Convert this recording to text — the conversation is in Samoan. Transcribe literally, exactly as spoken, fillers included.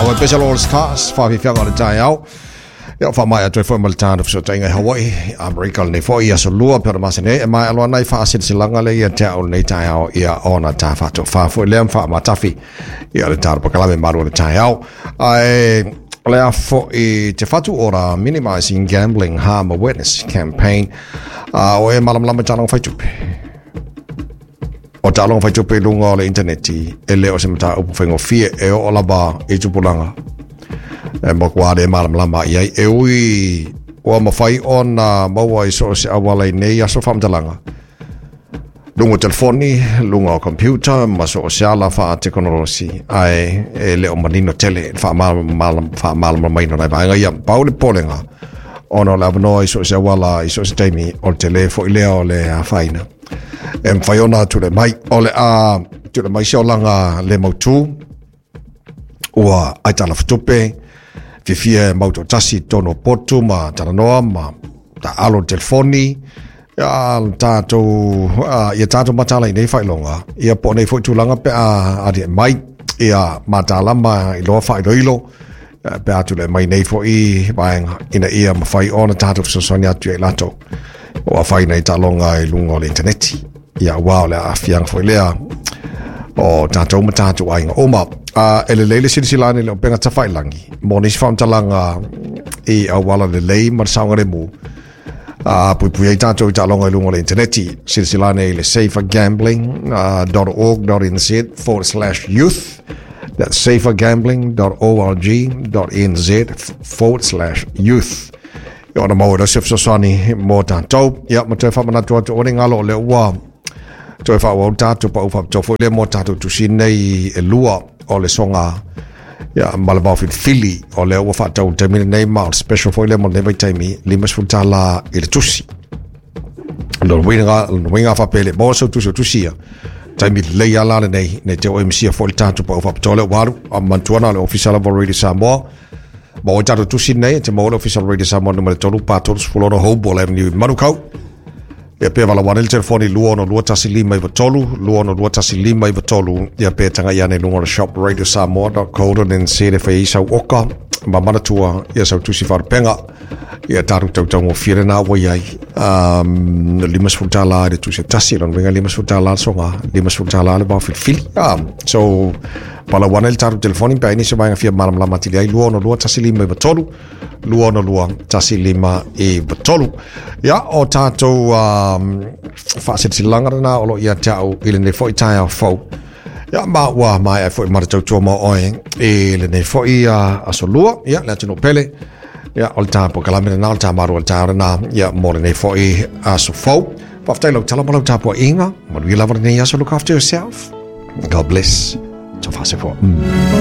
o Special All Stars faafiafiaga o le taeao. Ia faamaea atu ai foi ma le tatou fesootaiga i Hawaii, Amerika lenei foi i aso lua pe o le masina nei, e maea loa nai faasilasilaga lea ia te au lenei taeao, ia ona ta faatofā foi lea ma faamatafi ia le tatou pakalame malu o le taeao. Ae o le a foi Te Whatu Ora Minimizing Gambling Harm Awareness Campaign, a o e malamalama i taaloga faitupe. O taaloga faitupe i luga o le interneti, e le o se mataupu faigofie e oo lava i tupulaga. E matua le malamalama i ai, e ui ua mafai ona maua i so o se auala i nei aso faamatalaga. Luga o telefoni, luga o computer, ma so o se ala faatekonolosi, ae e le o manino tele le faamalamalamaina o nai vaega ia. Pau le popolega, ona o le avanoa i so o se auala i so o se taimi, o le tele foi lea o le afaina. E mafai ona tulai mai, o le a tulai mai se olaga le mautū, ua aitalafutupe, fiafia e mautoatasi i totonu o potu ma talanoa ma taalo telefoni, ia tatou ia tatou mataala i nei faailoga, ia po o nei foi tulaga pe a aliae mai, ia matalama i loa faailoilo, pe a tulai mai nei foi vaega, ina ia mafai ona tatou fesoasoani atu ia i latou o afaina i taaloga i luga o le interneti. Ia ua o le aafiaga foi lea o tatou ma tatou aiga uma. Uh, e lelei le silasila ane i le upega tafailagi mo nisi faamatalaga i auala lelei ma le saogalemu uh, puipui ai tatou i taaloga i luga o le interneti. Silasila ane i le safergambling dot org dot n z forward slash youth. That's safergambling dot org dot n z forward slash youth. Ia ona maua i se fesoasoani mo tatou. Ia ma toe faamanatu atu o le galo o lea ua toe faaauau tatou pau faapitoa foi lea mo tatou tusi nei e lua o le soga ia ma le vaofilifili o lea ua faatau i le taimi lenei ma o le special foi lea mo lenei vaitaimi limasefulu tala i le tusi. Lona uiga lona uiga faapea le maua sau tusi o tusi ia taimi lelei ala lenei nei te o M C foi le tatou pau faapitoa lea ua alu a mantua na o le Ofisa lava o Radio Samoa. Ma o tatou tusi nei te maua le Ofisa Radio Samoa numera tolu pa tolu sefulu ono Hoball Avenue i Manukau. Ia pe wala wane le telefoni lua ono lua tasi lima iwa tolu, lua ono lua tasi lima iwa tolu, ia pe tanga ia nei lunga o le shop radio samoa dot co dot n z e whai isau oka, ma manatua ia sau tusi wharupenga, ia taru tautau ngō nā wai ai, um, lima sefulu tala i le tusi tasi, lona uiga lima sefulu tala le soga, lima sefulu tala le vaofilifili. Um, so, pala wane le taru telefoni, pe ai nisi o vaega fia malamalama atili ai, lua ono lua tasi lima iwa tolu, lua ono lua tasi lima iwa tolu. Ia, o tātou um, faasilasilaga lena o loo ia te au i lenei foi taeao fou. Ia, ma ua maea foi ma le tautua mo oe i lenei foi uh, aso lua. Ia, le atunuu pele. Ia, o le tapuakalame lena, o le tāmaru o le taeao lena. Ia, mo lenei foi aso fou. Faafetai lau tala ma lau tapuaiga. Manuia lava lenei aso. Look after yourself. God bless. Tofase fo. Mm.